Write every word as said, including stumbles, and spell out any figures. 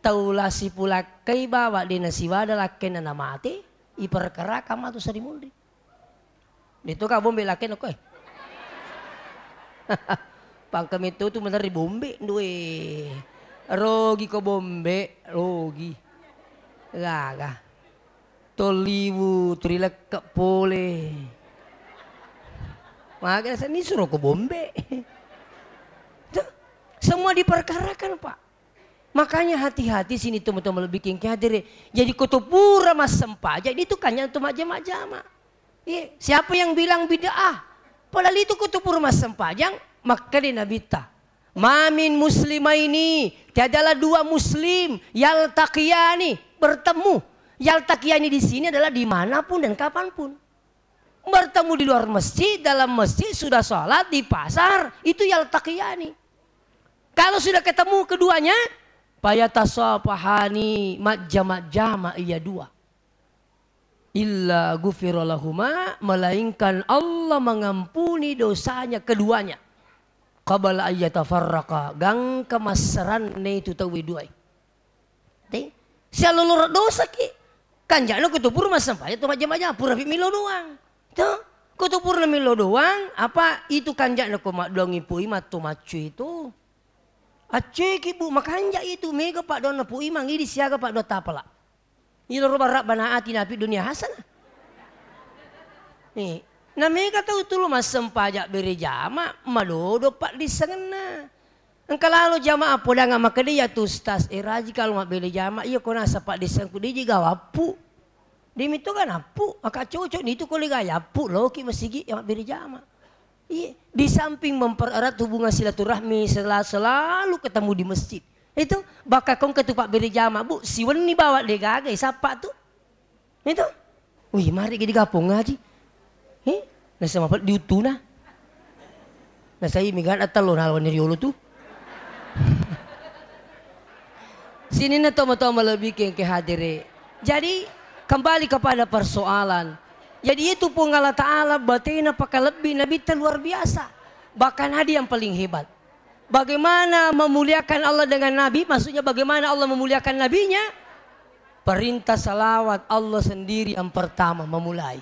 tau la sipulakkai bawa de nasiwada lakkainna namate, iperkarakan matu sarimunri. Deto ka bombe lakkainna koe. Pangka metto tu maderri bombe, due. Rogi ko bombe, rogi. Gaga. Tolliwu turilekke pole. Maga seni suro ko bombe. Tuh, semua diperkarakan, Pak. Makanya hati-hati sini teman-teman lebih king hadere. Jadi koto pura massempajang itu kanya tu majama-jama. Iya, siapa yang bilang bid'ah? Padahal itu koto pura massempajang, makkeda Nabitta. Mamin muslimaini, tiadalah dua muslim, yaltaqiyani, bertemu. Yaltaqiyani di sini adalah dimanapun dan kapanpun. Bertemu di luar masjid, dalam masjid, sudah sholat, di pasar, itu yaltaqiyani. Kalau sudah ketemu keduanya, fayatasafahani, majjama-jama iya dua. Illa ghufira lahuma, melainkan Allah mengampuni dosanya keduanya. Qabla ayyatafarraqa, gangka massaranne itu tauwe duai. Te? Sialoloro dosaki. Kanja'na kutupuru massempajang tu majjama-jama, purapi milo doang. Tuh, kutupurna milo doang, apa itu kanja'na ko maddoangi pui matto maccu itu. Acceki, Bu, makanja itu, mega paddoanna pui mang, idi siaga paddoang tapala. Iyaro barra bana ati napi dunia hasanah. Eh, na mega tau tulu massempajang bere jama, madodo paddissengenna. Engka lalo jamaah podang makkeda, "Iya tu Ustaz, eh, raji kalau mabbere jama, iya ko nasa paddissengku diji gawappu." Demi to ganappu, aka cocok nitu ko lega yappu, loki masigi yang mabbere jama. Iya, di samping mempererat hubungan silaturahmi, sela-, selalu ketemu di masjid. Itu, bakka kongka tu pabbere jama, Bu, siwenni bawa degaga, eh, sappa tu. Itu. Wih, mari gede gapong ngaji. Eh, nasa mapel diutuna. Nasa imi gana tello nalawani riolo tu. Sininna tomatoa malebbi kengke hadere. Jadi, kembali kepada persoalan. Jadi, itu Puang Allah Ta'ala batena pakalebbi Nabitta luar biasa. Bahkan ada yang paling hebat. Bagaimana memuliakan Allah dengan Nabi? Maksudnya, bagaimana Allah memuliakan Nabinya? Perintah salawat, Allah sendiri yang pertama memulai.